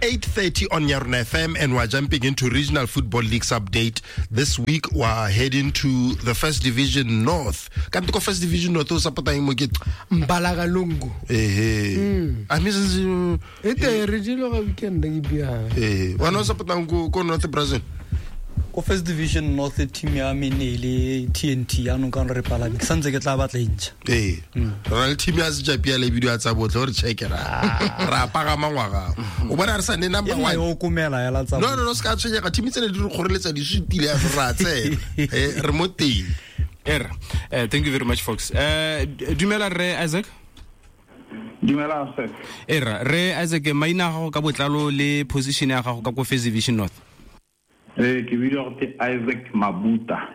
8:30 on Yarona FM, and we're jumping into Regional Football League's update. This week we're heading to the First Division North. Kanti ko First Division North o support eng mo ke? Mbalakalungu. Ehe. A mme E te re dilo ga weekend ke bia. Eh, wena o support-ang ko North Brazil? Ko First Division North team ya me ne le TNT, yaanong ka re palame ke santse ke tla batla e ntšha. Ee, re na le team ya sejapia le bidio ya tsa botlhe gore checke ra pagama ngwaga o bona re sa ne number E nna one. yo komela hela tsa No, se ka tshwenyega, team tsene di re kgoreletsa di sutile ya re ra tsena. Re mo teng. Era. Thank you very much, folks. Dumela re Isaac. Dumela sir. Era, re Isaac, maina a gago ka botlalo le position ya gago ka ko First Division North. Ke bidiwa go te Isaac Mabuta.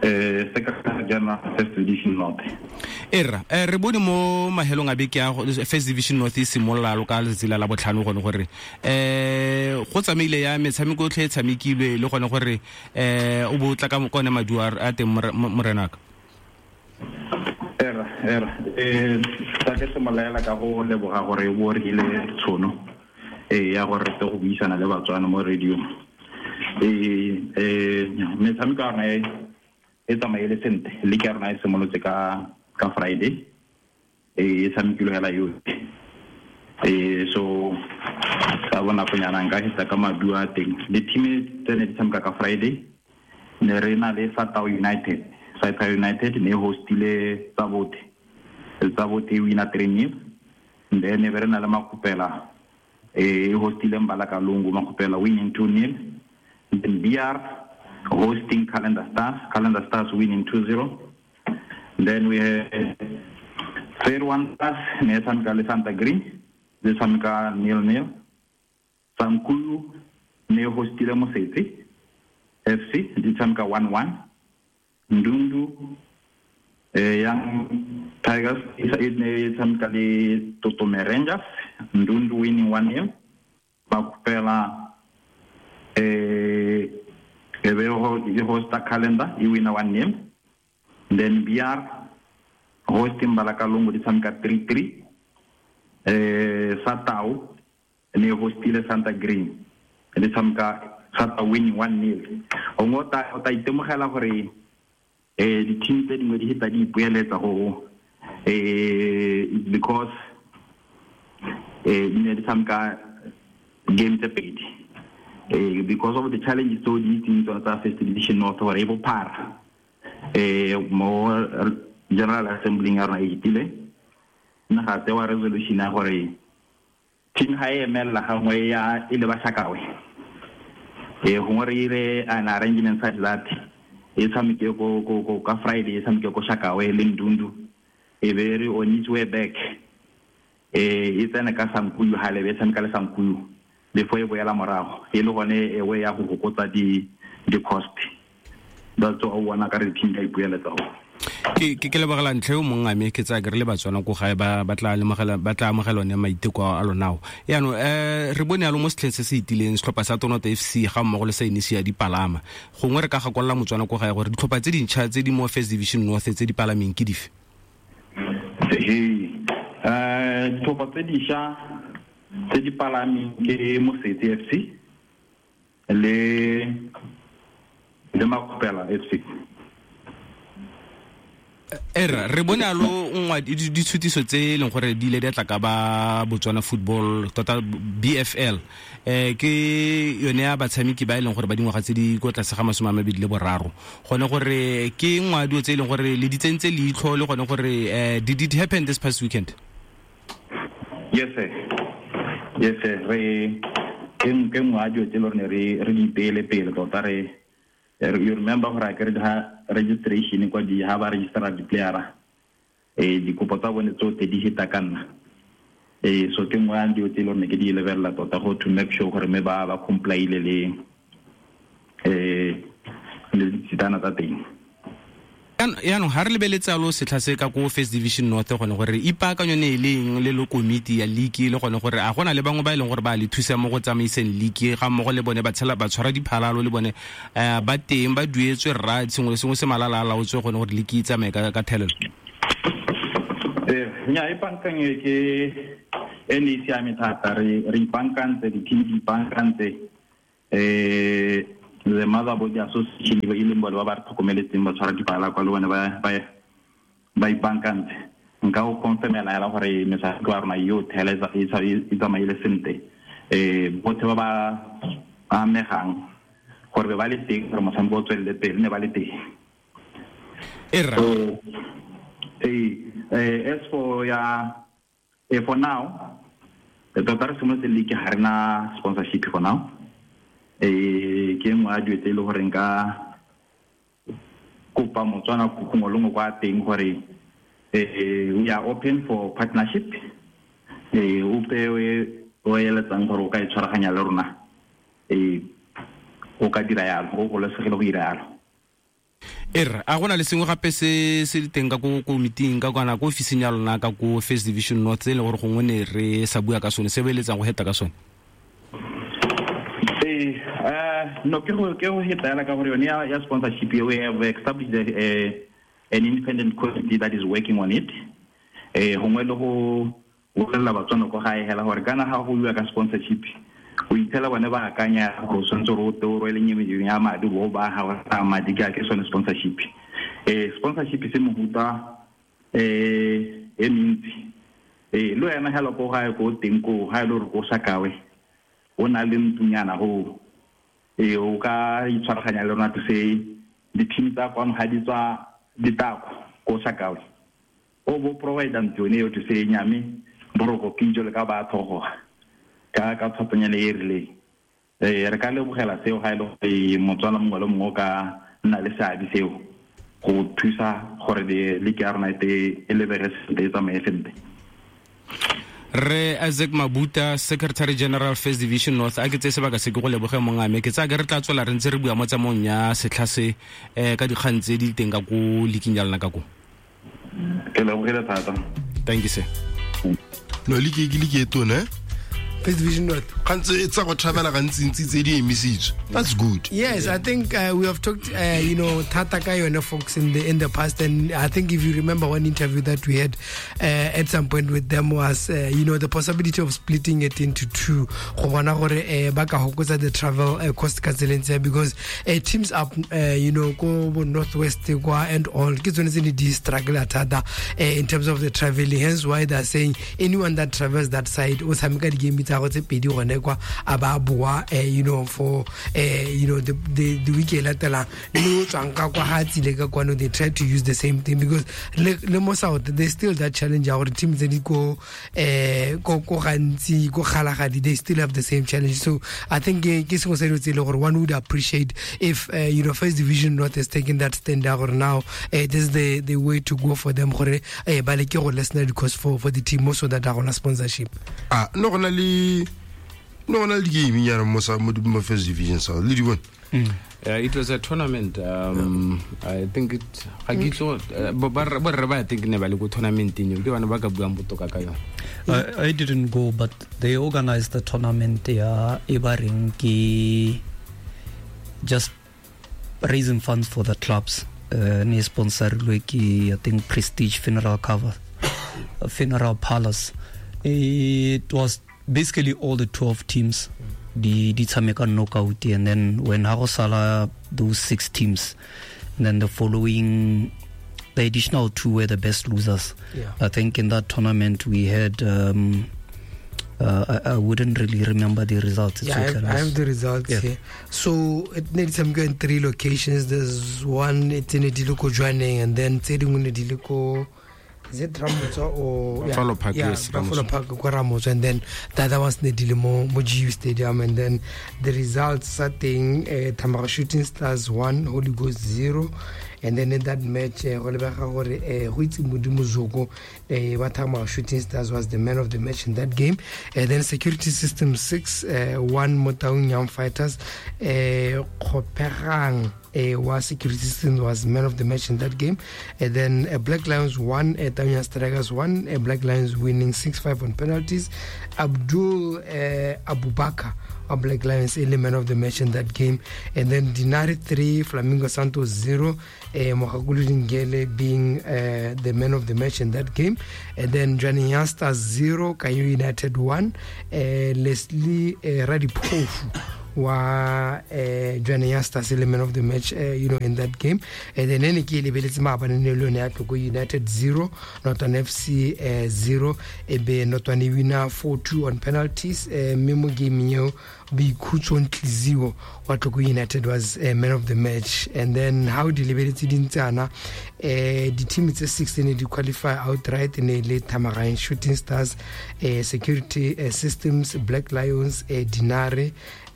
Secretary General First Division North. Era, re bone mo mahelong a beke ya First Division North e simolola lo ka letsatsi la botlhano gone gore, go tsamaile ya metshameko yotlhe e tshamekilwe le gone gore, o bo tla ka kone maduo a teng morenaka. Era, era. Tla ke simolola ka go leboga gore o bo re ile tshono, ya gore re tle go buisana le Batswana mo radio. Metshameko ya rona e tsamaile sentle. League ya rona e simolotse ka Friday. E tshamekilwe hela yotlhe. So ka bonakonyana nka fetsa ka maduo a teng. Di-team tse ne di tshameka ka Friday, ne re na le Satao United. Satao United ne e hostile Tsabote. Tsabote e wina three nil. Then be re na le Makgopela, e hostile Mbalakalungu, Makgopela winning two nil. Then BR hosting Calendar Stars, Calendar Stars winning 2-0. Then we have Fair One Stars, ne tshameka le Santa Green, le tshameka nil nil. Sankuyu ne hostile Mosetse FC, di tshameka 1-1. Ndundu, Young Tigers e ne tshameka le Totome Rangers, Ndundu winning one nil. Bakupela, e be e hosta Calendar, e wina one nil. Then BR hosting Balakalungu, di tshameka 3-3. Satao ne hostile Santa Green, di tshameka Satao winning one nil. O ngo o ta itemogela gore, di-team tse dingwe di heta di ipoeletsa go, because, di ne di tshameka game tse pedi. Because of the challenges tse di itseng tsona tsa First Division North gore e bophara. Mo General Assembly ya rona e fetile, nna ga tsewa resolution ya gore team ha e emella gangwe ya e le ba Shakawe. Gongwe re ire an arrangement such that e tshameke ko ka Friday, e tshameke ko Shakawe le Ndundu, e be re on its way back, e tsene ka Sankuyu hale, e tshameka le Sankuyu before e boela morago, e le gone e way ya go fokotsa di cost. That's all o bona ka re team ka ipueletsa go. Ke lebogela ntlha eo mong ame, ke tsaya ke re le Batswana ko gae ba tla lemogela, ba tla amogela one maiteko a lona ao. Jaanong, re bone yalo mo setlheng se se itileng setlhopha sa Tonota FC ga mmogo le sa Inisia di palama. Gongwe re ka gakolola Motswana ko gae gore ditlhopha tse dintšha tse di mo First Division North tse di palameng ke dife? Ee, ditlhopha tse dišwa tse di palameng ke Mosetse FC le Makgopela FC. Era, re bone alo nngwe ditshutiso tse e leng gore di ile di tla ka ba Botswana Football, tota BFL. Ke yone ya batshameki ba e leng gore ba dingwaga tse di kwa tlase ga masome a mabedi le boraro. Gone gore ke nngwe ya dilo tse e leng gore le di tsentse leitlho le gone gore, did it happen this past weekend? Yes, sir. Yes, sir. Re, ke nngwe ya dilo tse e leng gore re di ipeele pele tota re, you remember gore a kere ha registration kwa di, ha ba registera di-player-a, dikopo tsa bone tsotlhe di heta ka nna. So ke nngwe ya dilo tse e leng gore ke di lebelela tota go to make sure gore mme ba comply-ile le ditsitana tsa teng. Jaanong ha re lebeletse alo setlha se ka ko First Division North gone gore ipaakanyo ne e leng le le komiti ya league le gone gore a gona le bangwe ba e leng gore ba le thusa mo go tsamaiseng league ga mmogo le bone ba tshela ba tshwara diphalalo le bone, ba teng ba duetswe rra sengwe le sengwe se malala a laotswe gone gore league e tsamaye ka thelelo. Nya e pankanye ke e ne e siame thata, re ipankantse, di-team di ipankantse, the motherboard association e leng bone ba ba re tlhokomeletseng ba tshwara dipala kwa le bone ba ipankantse. Nka go confirmela hela gore metshameko ya rona yotlhe hela e tsamaile sentle. Botlhe ba ba amegang gore be ba le teng gore motshameko o tswelele pele ne ba le teng. So, as for for now, tota re simolotse league ga re na sponsorship for now. Ke nngwe ya dilo tse e le gore nka kopa Motswana gongwe le gongwe kwa teng gore we are open for partnership. Ope o eletsang gore o ka e tshwaraganya le rona, o ka dira yalo, o golosegile go dira yalo. A gona le sengwe gape se se teng ka ko komiting ka kana ko ofising ya lona ka ko First Division North e le gore gongwe ne re sa bua ka sone se beletsang go heta ka sone? No, ke go heta ka gore yone ya sponsorship, we have established an independent committee that is working on it. Gongwe le go bolelela Batswana ko gae hela gore kana ga go bua ka sponsorship o ithela bone ba akanya gore o tshwanetse gore o te o rwele nyemeding ya madi bo ba ga go madi ke sone sponsorship. Sponsorship se mohuta e mentsi. Le wena hela ko gae ko teng ko ga e le gore ko Shakawe o na le ntunyana go o ka itshwaraganya le rona to say di-team tsa kwano ga di tswa ditako ko Shakawe o bo provide ntlo yone eo to say nyame boroko ke le ka ba thogoga ka tlhophonyana e rileng. Re ka lebogela seo ga e le gore Motswana mongwe le mongwe o ka nna le seabe seo go thusa gore league ya rona e lebege sentle, e tsamaye sentle. Re Isaac Mabuta, Secretary General First Division North, a ke tse sebaka se ke go leboge mongame. Ke tsaya ke re tla tswela re ntse re bua mo tsamaong ya setlha se ka dikgang tse di teng ka ko leaking ya lona ka ko. Ke lebogile thata. Thank you sir. No league e tona. First Division North. Gantsi tsa go travela gantsi tse di emisitswe. That's good. Yes, I think we have talked thata ka yone folks in the past, and I think if you remember one interview that we had at some point with them was the possibility of splitting it into two. Go bona gore ba ka hokotsa the travel cost ka tseleng tse, because teams up ko bo Northwest kwa and all ke tsone tse ne di struggle thata in terms of the traveling. Hence why they are saying anyone that travels that side o tshameka di-game tsa go tse pedi gone kwa a ba boa for the week e latelang le o tswang ka kwa ga tsile ka kwano, they try to use the same thing because le mo South there's still that challenge ya gore team tse di ko ko gantsi ko Kgalagadi, they still have the same challenge. So I think ke sengwe se dilo tse e le gore one would appreciate if First Division North has taken that stand ya gore now this is the way to go for them gore ba leke go lessen the cost for the team so that a gona sponsorship. No gona le di-game nyana mo First Division South le di bone. It was a tournament. I think it ga ke itse borre ba think ne ba le ko tournament-eng eo ke bana ba ka buang botoka ka yone. I didn't go, but they organized the tournament ya e ba reng ke just raising funds for the clubs. Ne sponsorilwe ke I think Prestige Funeral Cover, Funeral Palace. It was basically all the 12 teams di tshameka knockout, and then when ha go sala those 6 teams, and then the following the additional 2 were the best losers. Yeah. I think in that tournament we had I wouldn't really remember the results. Yeah, I have the results here. So it needs some in 3 locations. There's one it's in Ediloko Jwaneng, and then tse dingwe ne di le ko, is it Ramotswa or Buffalo Park? Yeah, yes, Buffalo Park, kwa Ramotswa, and then the other one's ne di le mo GU Stadium. And then the results are teng, Thamaga Shooting Stars 1, Holy Ghost 0. And then in that match, go lebega gore go itse Modimo Zoko ba Thamaga Shooting Stars was the man of the match in that game. And then Security System 6, 1 Motaung Young Fighters, Kgopegang was Security System was man of the match in that game. And then Black Lions 1, Taung Strikers 1, Black Lions winning 6-5 on penalties. Abdul Abubakar of Black Lions, only man of the match in that game. And then Dinari 3, Flamingo Santos 0. Mogakolodi Ngele being the man of the match in that game. And then Jwaneng Young Stars 0, Kanye United 1. Leslie Radipofu wa Jwaneng Young Stars le man of the match in that game. And then ene ke lebeletse maabane ne le yone ya Tlokwe United 0, Notwane FC 0, e be Notwane winner 4-2 on penalties. Mme mo game eo Boikhutso Ntliziwo wa Tlokwe United was man of the match. And then how di lebeletse dintsana, di-team tse 6 ne di qualify outright ne le Thamagang Shooting Stars, Security Systems, Black Lions, Dinare,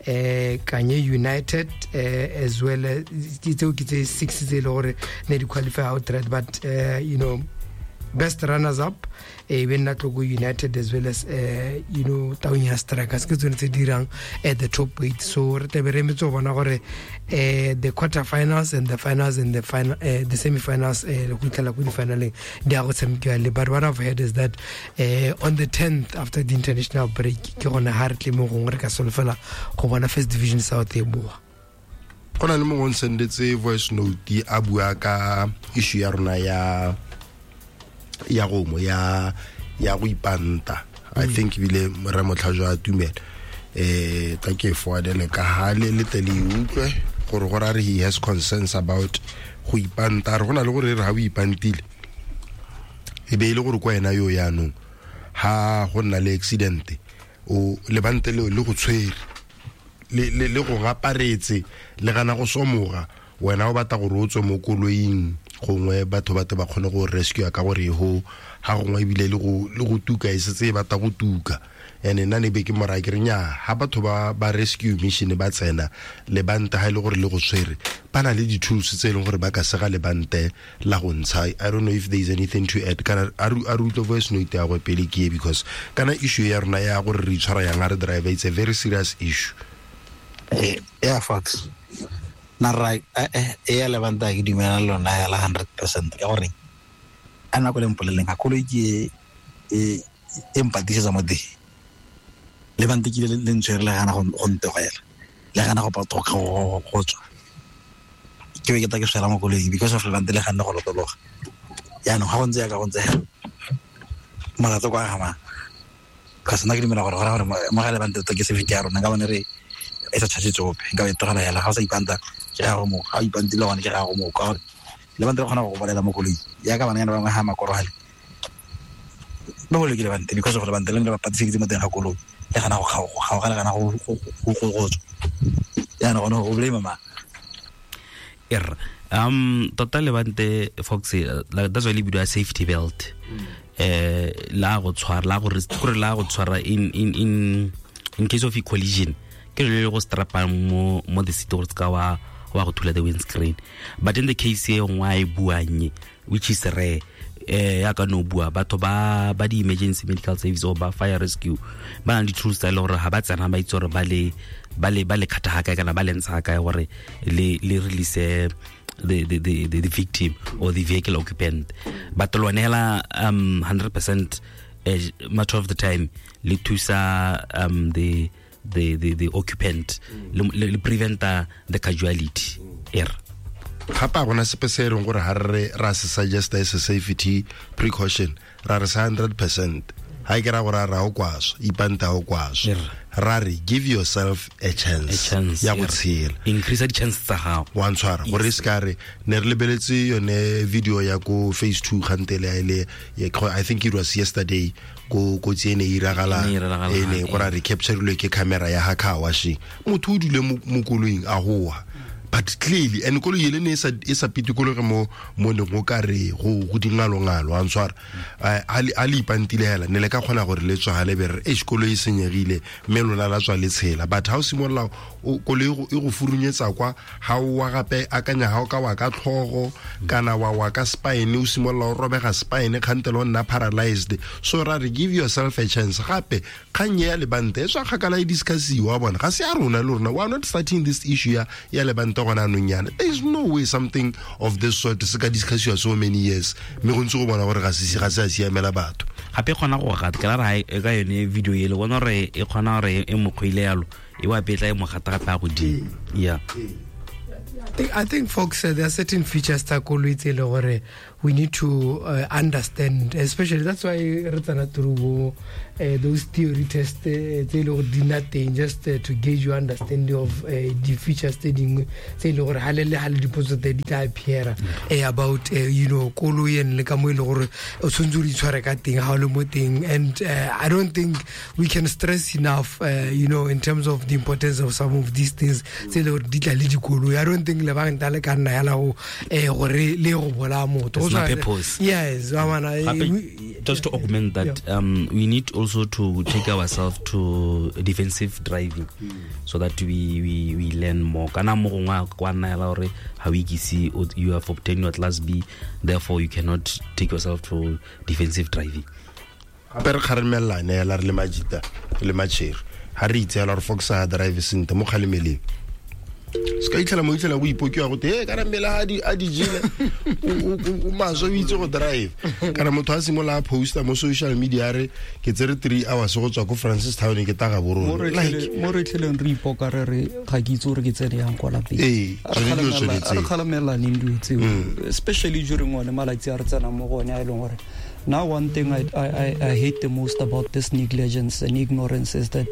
Kanye United, as well as tseo ke tse 6 tse e le gore ne di qualify outright, but best runners up e be nna Tlokwe United as well as Taung ya Strikers ke tsone tse dirang at the top 8. So re tlabe re emetse go bona gore the quarterfinals and the finals and the final, the semi-finals, go fitlhela ko di-finaleng di a go tshamekiwa le. But what I've heard is that on the 10th after the international break ke gone ha re tle mo gongwe re ka solofela go bona First Division South e boa. Go na le mongwe o nsendetse voice note a bua ka issue ya rona ya gomo ya go ipanta. I think ebile re motlhajwa a tumela tla ke forwardele ka ha le tle le utlwe gore go ra re he has concerns about go ipanta. Re go na le gore re ha o ipantile e be ile gore kwa ena yo yaanong ha go nna le accident o lebante leo le go tshwere le go gaparetse le gana go somoga, wena o batla gore o tswe mo koloing gongwe batho ba te ba kgone go rescue ka gore ho ha gongwe ebile le go tuka e setse e batla go tuka. And nna ne be ke mora ke re nya ha batho ba rescue mission ba tsena lebante ha ile gore le go tshwere ba na le di-tools tse e leng gore ba ka sega lebante la go ntsha. I don't know if there is anything to add. Kana a re utlwe voice note ya go pele ke because kana issue ya rona ya gore re itshwara yang a re driver, it's a very serious issue. Yeah, Fox. Na ra e ya lebanta ke dumela lona ya la 100% ka gore a nako le mpoleleng ga koloi ke e mpatisetsa mo teng lebante ke le ntshwere le gana go ntegela le gana go patoka go tswa ke be ke ta ke swela mo koloing because of lebante le gana go lotologa. Yaanong ga go ntse yaka go ntse molato kwa gama ka sena ke dumela gore gore mo ga lebante to ke se fike ya rona ka bone re e sa tshase tsope nka be tlogela hela ga o sa ipanta ke ga go mo ga o ipantile gone ke ga go mo ka gore lebante le kgona go bolela mo koloing ya ka bana ba bangwe ga makorogale ba bole ke lebante because of lebante le ba patiseditse mo teng ga koloi le gana go kgaoga le gana go tswa jaanong gone go blame ma tota lebante Fox, that's why le bidiwa safety belt. La go tshwara la go gore la go tshwara in case of a collision ke le go strapa mo the seat gore ska wa go thula the windscreen. But in the case e nngwe e buanye which is rare, ya ka no bua batho ba di emergency medical service or ba fire rescue ba na le tools tsa le gore ha ba tsena ba itse gore ba le khatha ha kae kana ba le ntsha kae gore le release the victim or the vehicle occupant. But lone hela 100% much of the time le thusa the occupant le prevent the casualty error. Gape a gona sepe se e reng gore ha re ra se suggest as a safety precaution ra re sa 100% ha ke ra gore ra o kwaswa ipanta o kwaswa ra re give yourself a chance ya go tshela, increase the chance tsa gago wa ntshwara gore se ka re ne re lebeletse yone video ya ko phase 2 kgantele le I think it was yesterday ko kotsi e ne e iragala e ne gore re captureilwe ke camera ya ha car washing motho o dule mo koloing a hoa. But clearly and koloi ele ne e sa pitikologe mo ne go ka re go dingalo-ngalo a ntshwara a le ipantile hela ne le ka kgona gore le tswa le be re e koloi e senyegile mme lona la tswa le tshela. But ha o simolola koloi e go furunyetsa kwa ha o wa gape akanya ha o ka wa ka tlhogo kana wa ka spine o simolola o robega spine kgantele o nna paralyzed. So ra re give yourself a chance. Gape kgang ya lebante e tswa kgakala e discussiwa bona ga se ya rona le rona we are not starting this issue ya lebante gona anong yana. There is no way something of this sort se ka discussiwa so many years mme go ntse go bona gore ga se a siamela batho. Gape kgona go gata ke la re ka yone video ele bona gore e kgona gore e mokgwile yalo e wa petla e mo gata gape a godimo. Yeah. I think folks, there are certain features tsa koloi tse e le gore we need to understand, especially that's why re tsena through bo those theory test tse e le gore di nna teng just to gauge your understanding of di features tse dingwe tse e le gore hale le hale dipotso tse di tla appear about you know koloi and le ka mo e le gore o tshwanetse o di tshware ka teng ha o le mo teng. And I don't think we can stress enough you know, in terms of the importance of some of these things tse e le gore di tla le dikoloi. I don't think le bang le ka nna yala go gore le go bolaya motho. Purpose. Yes, just to augment that, yeah. We need also to take ourselves to defensive driving, so that we learn more. Kana mo gongwe kwa nna yala gore ha o ikise, you have obtained your class B, therefore you cannot take yourself to defensive driving. Gape re kgaremelane yala re le majita le matšhere ha re itse yala gore Fox ha drive sentle mo kgalemeleng. Se ka itlhela mo itlhela go ipokiwa gote e kana mmele a di jele o maswe o itse go drive. Kana motho a simolola a posta mo social media re ke tsere 3 hours go tswa ko Francis Town ke taga borone. Mo re tlheleng re ipoka re re ga ke itse gore ke tsene yang kwa lapeng. Ee, re kgalamelane dilo tseo, especially during one malatsi a re tsenang mo go one a e leng gore now one thing I hate the most about this negligence and ignorance is that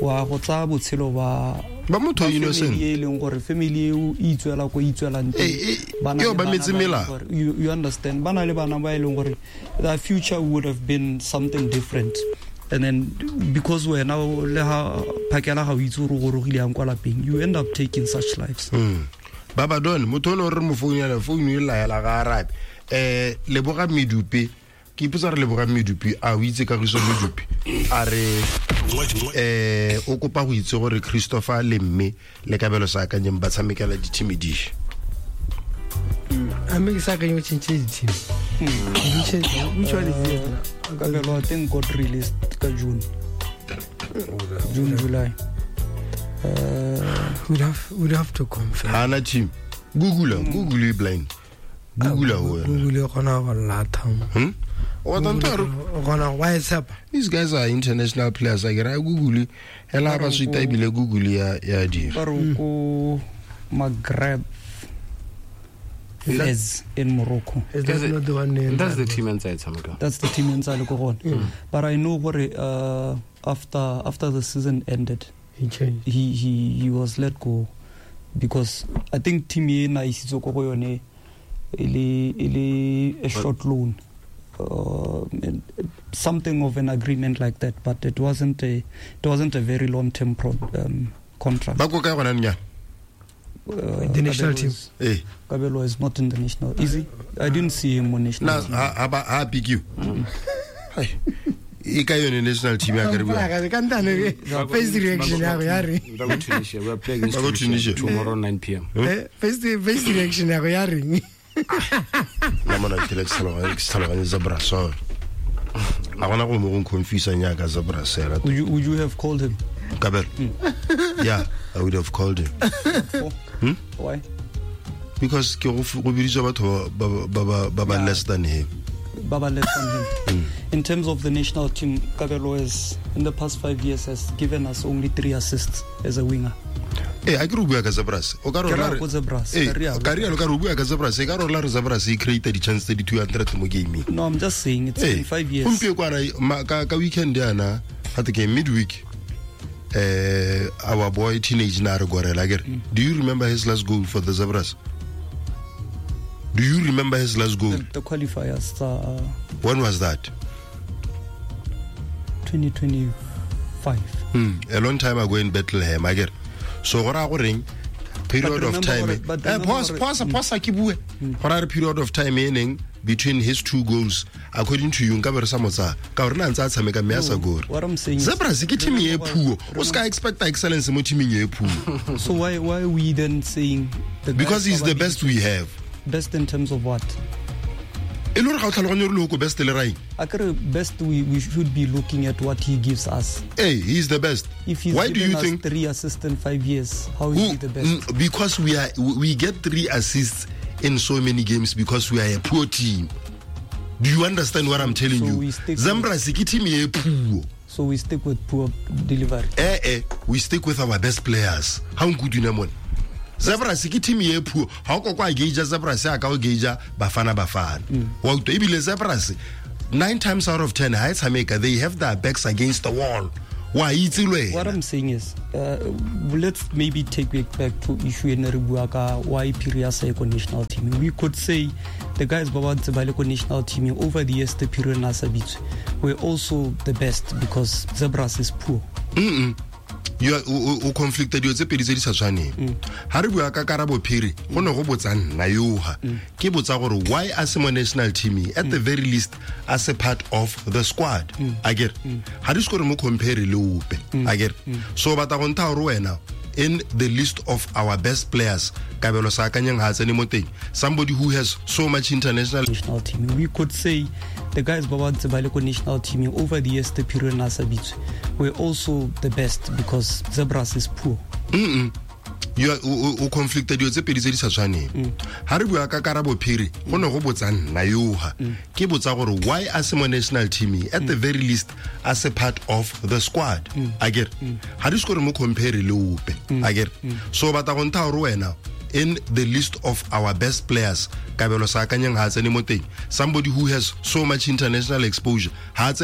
wa go tsaya botshelo ba motho innocent e leng gore family eo e itswela ko itswelang teng bana ba metse mela, you understand, bana le bana ba e leng gore the future would have been something different, and then because wena le ha phakela ga o itse gore o gorogile yang kwa lapeng, you end up taking such lives. Baba Don motho o re mo founela founu e laela ga arabe. Leboga Medupe, ke ipotsa re Leboga Medupe a o itse Kagiso Medupe a re o kopa go itse gore Christopher le mme le Kabelo sa akanyeng ba tshamekela di-team di. A mme ke sa akanye o change di-team. Which one is it? Kabelo I think got released ka June, July. We'd have to confirm. Hana team. Google you blind. Google Google gona go latha. These guys are international players. I get a Google. Hela ba suita ebile Google ya dira. Ba re ko Maghreb is in Morocco. Is that not the one name? That's the team inside Tshameka. That's the team inside go gone. But I know gore after the season ended, he changed. He was let go because I think team ena isitse ko go yone e le a short loan. Something of an agreement like that, but it wasn't a very long term contract. Ba ko kae gona nya? The national team. Kabelo is not in the national. Is he? I didn't see him on national team. Na ha pick you. E ka yone national team ya ka re bua. First reaction ya go ya re. Ba go Tunisia, we are playing against Tunisia tomorrow 9 p.m. First reaction ya go ya reng? Nna mona ke le tlhaloganye Zebras. A gona go mo go confuse nya ka Zebras era. Would you have called him? Kabelo. Yeah, I would have called him. Why? Because ke go biditswa batho ba less than him. Baba less than him. In terms of the national team, Kabelo is in the past 5 years has given us only 3 assists as a winger. A ke re bua ka Zebras. O ka re ka re ka re bua ka Zebras, e ka re la re Zebras e create di chance tse di 200 mo gaming. No, I'm just saying it's in 5 years. Gompieno kwana ka weekend yana, ga te ke midweek. Our boy teenage na re gorela ke re. Do you remember his last goal for the Zebras? Do you remember his last goal? The qualifiers. When was that? 2025. A long time ago in Bethlehem, I get. So go reng period of time. Pause ke bue. Go ra period of time e between his 2 goals according to you nka be re sa motsa ka gore na ntse a tshameka mme a sa gore. What I'm saying is Zebras ke team e puo. O ska expect excellence mo teaming e puo. So why are we then saying the because he's the best we have. Best in terms of what? E le gore ga o tlhaloganye gore le ko best le raing. Akere best we should be looking at what he gives us. Hey, he's the best. If he's why do you us think 3 assists in 5 years, how is he the best? Because we get 3 assists in so many games because we are a poor team. Do you understand what I'm telling you? Zebras ke team e poor. So we stick with poor delivery. We stick with our best players. Ha nku dina mone. Zebras ke team e poor. Ha o ko kwa gauge Zebras a ka o gauge Bafana Bafana. Wa utlwa ebile Zebras 9 times out of 10 ha e tshameka they have their backs against the wall. Wa itse le What wena. I'm saying is, let's maybe take it back to issue e ne re bua ka why Phiri a sa ye ko national team. We could say the guys ba ba ntse ba le ko national team over the years, the Phiri na sa bitswe, were also the best because Zebras is poor. You are- o conflicta dilo tse pedi tse di sa tshwaneng. Ha re bua ka Karabo Phiri, go ne go botsa nna yoga. Ke botsa gore why a se mo national team at the very least as a part of the squad. Akere ha di se gore mo compare le ope. Akere so batla go ntha gore wena in the list of our best players, Kabelo Saakanyeng ha tsene mo teng, somebody who has so much international National team. We could say the guys ba ba ntse ba le ko national team over the years, the Phiri na sa bitswe, were also the best because Zebras is poor. You are- o conflicta dilo tse pedi tse di sa tshwaneng. Ha re bua ka Karabo Phiri, go ne go botsa nna yoga. Ke botsa gore why a se mo national team at the very least as a part of the squad. Akere ha di se gore mo compare le ope. Akere so batla go ntha gore wena in the list of our best players, Kabelo Saakanyeng ha tsene mo teng, somebody who has so much international exposure ha tsene.